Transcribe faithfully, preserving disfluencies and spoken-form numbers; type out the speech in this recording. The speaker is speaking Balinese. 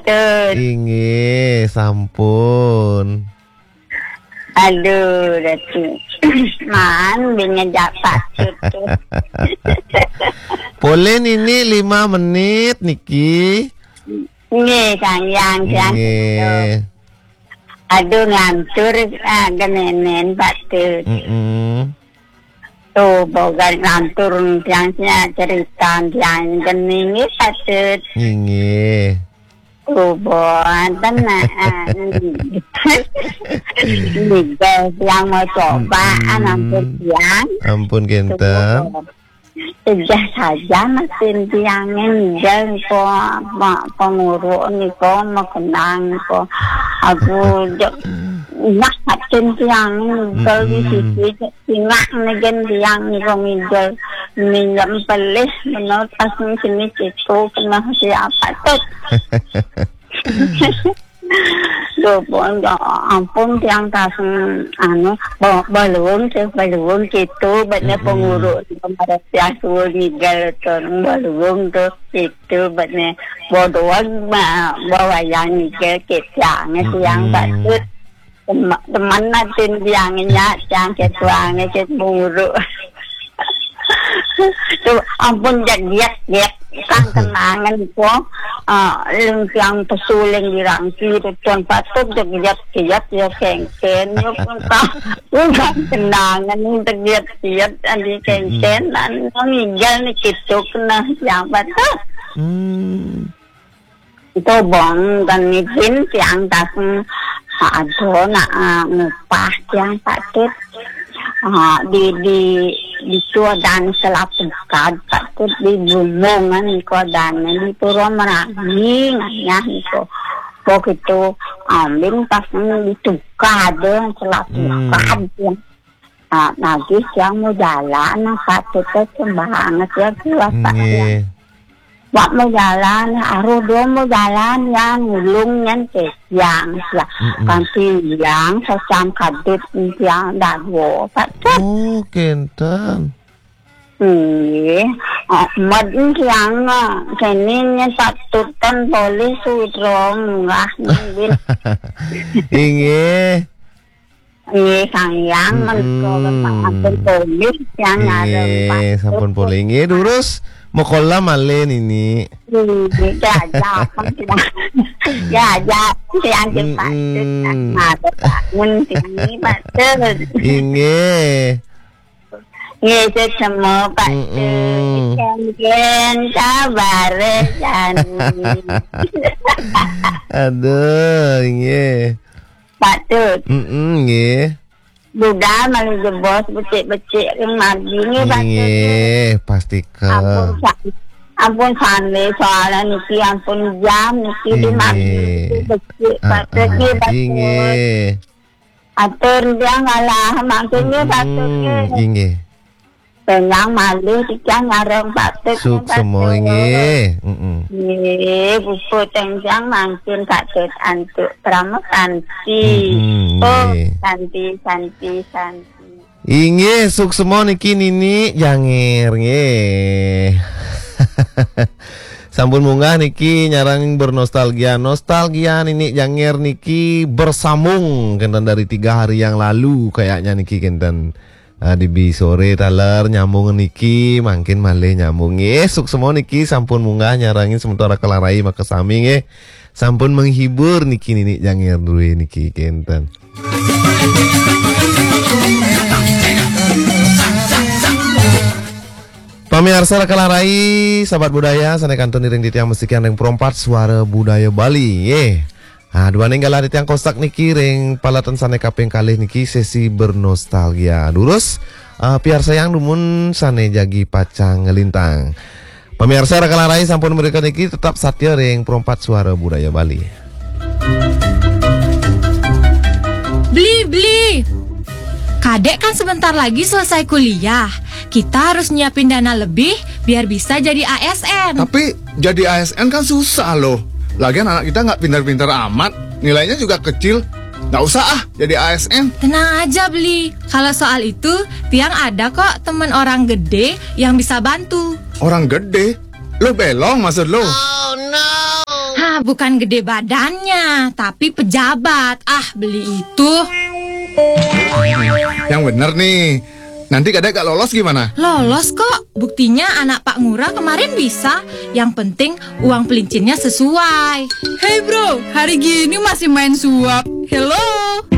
Patut. Inggih, sampun. Aduh, Datu. Man, bin ngejak Patut. Polih niki lima menit niki. Nggih, Kang Yang, Yang. Nggih. Aduh, ngantur, ah, genenen Patut. Mm-mm. Tuh, boga lantur tiang nya cerita tiang geni nggih Patut. Nggih. Tuh, boten, ah, ah, nggih. Nggih, tiang mau coba, mm-mm, ah, nampun tiang. Ampun, kenten. Tuh, ejah saja mesin tiang nggih, kok, Pak, penguruk niko makenang kok. Aku jek nak mesin tiang nggih, di, mm-mm, sisi Singak negen tiang niko ngidul, minjem pelih menurut asing sini situ kena siapa tuh. Lho, pun, ya ampun, tiang taseng, anu, ba-, balung, sih, balung gitu, betnya, mm-mm, penguruk, kemarin tiang suruh ngidul, tuh, balung tuh, gitu, betnya bodohan, ma-, bawa yang ngidul, gitu, tiang, tiang, mm-mm, Patut. Tem-, teman natin biangnya, yang ketuanya, ke guru. Tuh, ampun, jadiat, jadiat. Kan kenangan ko, eh, lung yang pesuling di rangki, tuan Patut, jadiat, jadiat, ya, kengken, ya, pun, kan kenangan, jadiat, jadiat, adi kengken, dan ngigel nih, gitu, kena siapa tuh? Hmm. Tobong dan nipin tiang taseng ado nak, eh, ngupah tiang Patut. Eh, di, di, di Suadan Selapukad Patut di Bumbungan niko dan di Pura Merangi ngayah niko. Begitu ambing taseng di Tukad, Selapukad, hmm, tiang. Ah, nagih tiang mau jalan, nah, Patut teh banget ya, kuasa ya. Nggih. Wak mau jalan, aruh dua mau jalan, ya, ngulung nyen ke tiang, ya. Mm-mm. Kanti yang sacang kadut tiang dago, Patut. Oh, kenten. Nggih. Ah, med tiang, ah, kene nyen Patut kan boleh sudro munggah nyen. Inggih. Nggih, Kang Yang, mm-mm, menika sampun polih, tiang ngarep. Nggih, sampun polih. Nggih, durus. Mokola malih nini. Nggih, diajak, diajak, tiang, mm-mm, cepat, ngarep bangun sini, Patut. Inggih. Nggih, semua, Patut. Mm-mm. Ikan-ikan, sabar, jani. Aduh, inggih. Patut. Mm-mm, nggih. Budal malu jebos becik-becik ring margi nggih, Patut. Nggih, pastika. Ampun, sa-, ampun sane soalnya niki ampun jam niki di margi niki becik, Patut, nggih, Patut. Inggih. Atur tiang ngalah mangkin nggih, Patut, nggih. Mm-mm, inggih. Tenang malih tiang ngarang Patut, nggih, Patut. Suksema, inggih. Mm-mm. Nggih, puput tiang mangkin Patut antuk Prama Santi. Mm-mm, oh, nggih. Santi, Santi, Santi. Inggih, suksema niki Nini Janger, nggih. Sampun munggah niki nyarang bernostalgia. Nostalgia Nini Janger niki bersambung kenten dari tiga hari yang lalu kayaknya niki kenten. Ah, dibi sore taler nyambung niki, mangkin malih nyambung. Nggih, suksema niki sampun munggah nyarangin sementara kalarai makasami nggih. Sampun menghibur niki Nini Janger duwe niki kenten. Pamiarsa kalarai, sahabat budaya, sane kantun iring titiang mestikian ring Perompat Suara Budaya Bali, nggih. Ah, duaning galah titiang kosak niki ring paletan sane kaping kalih niki sesi bernostalgia. Durus, ah, piarsayang dumun sane jagi pacang nglintang. Pamiarsa kalarai sampun mrika niki tetap satya ring Perompat Suara Budaya Bali. Beli, beli. Kadek kan sebentar lagi selesai kuliah. Kita harus nyiapin dana lebih biar bisa jadi A S N. Tapi jadi A S N kan susah loh. Lagian anak kita nggak pintar-pintar amat, nilainya juga kecil. Nggak usah ah jadi A S N. Tenang aja, Beli. Kalau soal itu, Tiang ada kok temen orang gede yang bisa bantu. Orang gede? Lo belong maksud lo? Oh, no. Hah, Bukan gede badannya, tapi pejabat. Ah, beli itu. Yang bener nih. Nanti kadek gak lolos gimana? Lolos kok. Buktinya anak Pak Ngurah kemarin bisa. Yang penting uang pelincinnya sesuai. Hey bro, hari gini masih main suap. Hello.